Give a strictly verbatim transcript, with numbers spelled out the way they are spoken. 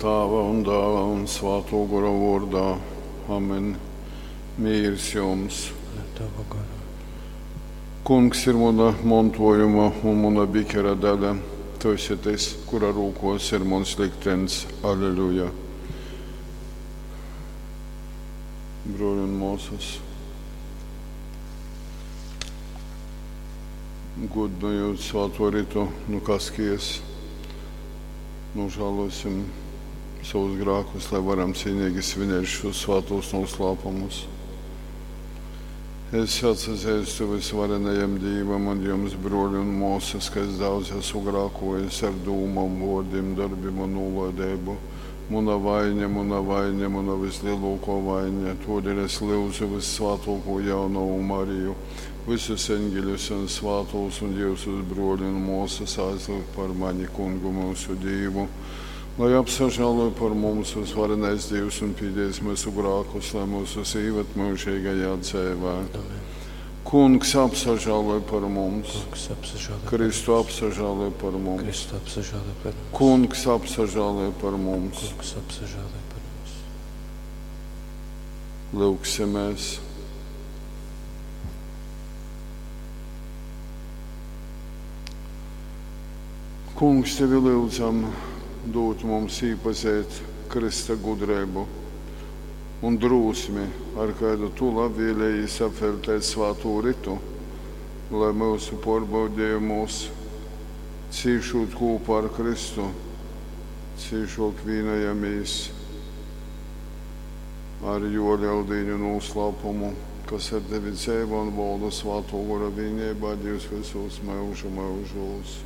Tāva un dāla un svātō gora vōrdā. Amen. Mīrs jums. Un ar tavu goru. Kungs ir muna montojuma un muna bikera daļa. Tu esi tys, kura rūkos ir muns liktenis. Aleluja. Brōļi un mōsas, gudinojot svāto ritu nu Kaskijas, nožēlosim savus grēkus, lai varam cienīgi svinēt šos svātos noslēpumus. Es atsazīstu visvarenajam Dievam un jums, brōļi un māsas, ka es daudz esmu grēkojis ar dūmām, vārdiem, darbiem un nolaidību. Muna vaina, muna vaina, muna vislielākā vaina. Tādēļ es lūdzu vissvētāko jaunavu Mariju, visus eņģeļus un svātos un jūsus brōļi un māsas aizlūgt par mani, kungu mūsu Dievu. Lai apsažāloja par mums visvarenais Dievs un pīdēs mūsu grēkus, lai mūsu ievad mūžīgajā dzīvē. Amen. Kungs apsažāloja par mums, Kungs apsažālo par Kristu mums. apsažāloja par mums, Kristu apsažālo par mums. Kungs apsažāloja par mums. Kungs apsažālo par mums. Lūksimies! Kungs, tevi lūdzam, dot mums iepazīt Krista gudrību un drosmi, ar kādu tu labvēlējies apveltēt svāto ritu, lai mūsu pārbaudījumos cīšot kopā ar Kristu, cīšok vienojamies ar jo lieldienu noslēpumu, kas ar tevi dzīvo un valda svāto gora vienībā, Dievs visos mūžu mūžos.